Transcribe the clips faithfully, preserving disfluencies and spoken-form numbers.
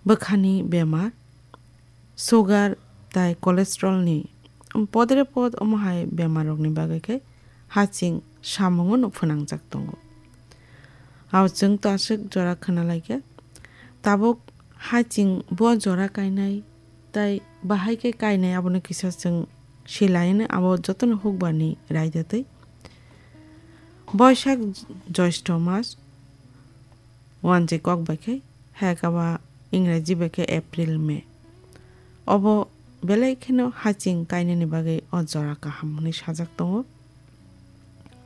bwkhani bemar, sugar tai cholesterol ni podre pod omo hai bemar rok ni bagwi khe haching samungo no phwnangjak tongo. Abo chwng to aswk jora khwna lai khe, tabuk haching bo jora kainai tai bahai khe kainai abono kisa chwng silaino abo jotono hukbar ni raida twi. Boisak Joisto mas, wanjwi kok bai khe, hekaba Ingraji bai khe April, May. Obo belai kheno haching kainani bagwi o jora kaham hwnwi sajak tongo.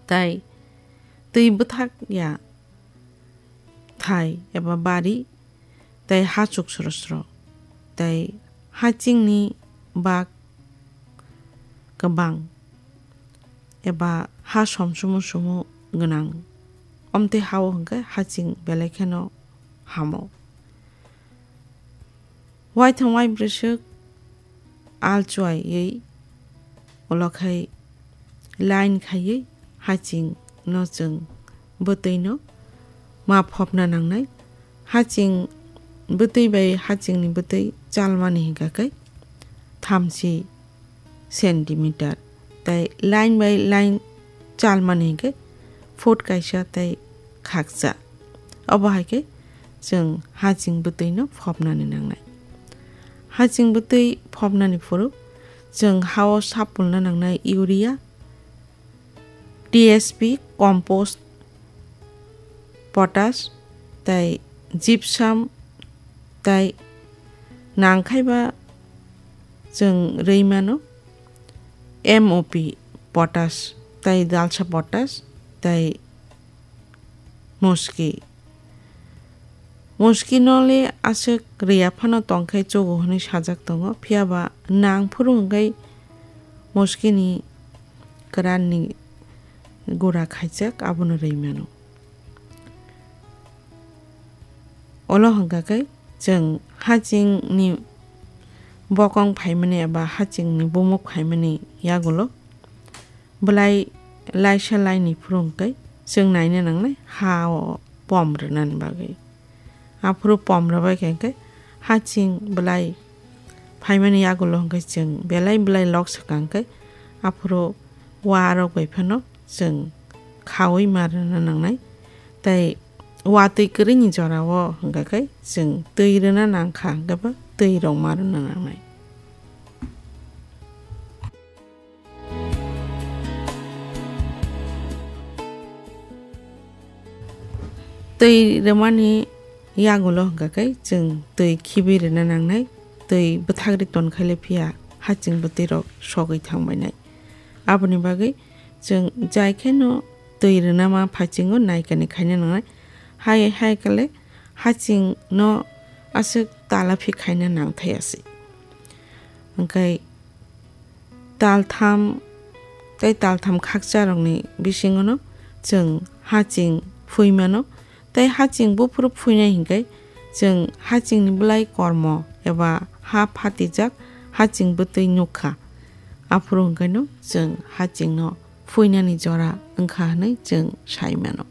Tai twi bwthak ya thai eba bari, tai hachuk sro sro, tai hachingni bak kwbang eba ha somsumu sumu gwnang. Omtwi hao hwnkhe haching belai kheno hamo. Waithong wai bwswk al chuaiwi ulo khai line khaiwi haching no chwng bwtwi no ma phopna nangnai. Haching bwtwi bai haching ni bwtwi chalmani hinkha khe thamchi centimeter, tai line by line chalmani hinkhe foot kaisa tai khakcha. Obo hai khe chwng haching bwtwi no phopnani nangnai. Haching bwtwi phopnani phuru chwng hao sapulna nangnai urea, T S P, compost, potash, tai gypsum, tai nangkhaiba chwng rwi mano M O P potash, tai dalsa potash, tai muski. Muski no le aswk rwya phano tongkhe chugo hwnwi sajak tongo, phiya ba nang phuru hwnkhe muski ni kwran ni gura khaijak abono rwi mano. Olo hwnkha khe chwng haching ni bokong phaimani eba haching ni bumuk phaimani yagulo belai laisa laini phuru hwnkhe chwng naina nangnai ha o pom rwnani bagwi. Aphuru pom rwbai khe hwnkhe haching belai phaimani yagulo hwnkhe chwng belai belai lok swkang khe aphuru wa rok bai phano chwng khaui ma rwna nangnai. Tai watwi kwrwini jorao hwnkha khe chwng twi rwna nangkha, hwnkhe bo twi rok ma rwna nangnai. Twi rwmani yagulo hwnkha khe chwng twi khibi rwna nangnai, twi bwthagri tonkhaile phiya haching bwtwi rok sogwi thangbainai. Aboni bagwi chwng jai kheno twi rwna ma phachingo naikani khaina nangnai. Hai hai kale haching no aswk talaphi khaina nangthai asi. Hwnkhe taltham tei taltham khakcharokni bisingono chwng haching phuimano. Tei haching buphuru phuinai hinkhe chwng hachingni bwlai kormo eba ha phatijak haching bwtwi nukha. Aphuru hwnkhaino chwng hachingno phuinani jora wngkha hwnwi chwng sai mano.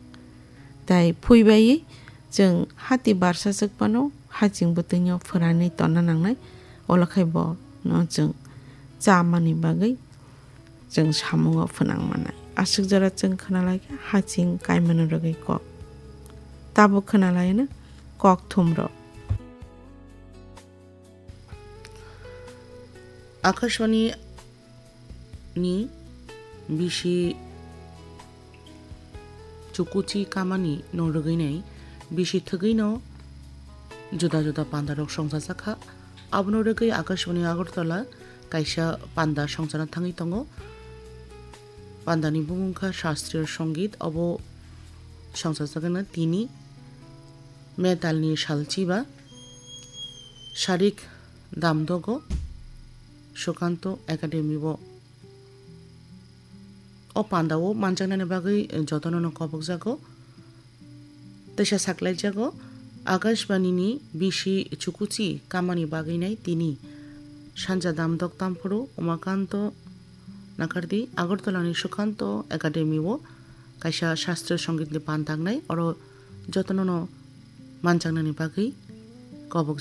Tai phuibaiwi chwng hati barsa chwk phano haching bwtwino phwranwi tonna nangnai, olo khai bono chwng chamani bagwi chwng samungo phwnang mannai. Aswk jora chwng khwnalai kha haching kaimano rwgwi kok. Tabuk khwnalaino kok thumrok. Akashvani ni bisi chukuchi kamani no rwgwinai bisi thwgwino juda juda pandarok songchajak kha. Abono rwgwi Akashvani Agartala kaisa panda songchana thangwi tongo. Pandani bumung kha Shastriya Songit, obo songchajagana tini metalni salchiba Sharik Damdogo Sukanto Academy o. O pandao manjaknani bagwi jotono no kobokjago. Teisa saklaijago, Akashbani ni bisi chukuchi kamani bagwi nai tini sanja damdok tamphuru Umakanto Nakardi Agartala ni Sukanto Academy o kaisa Shastriya Songit ni panda wngnai, oro jotono no manjaknani bagwi kobok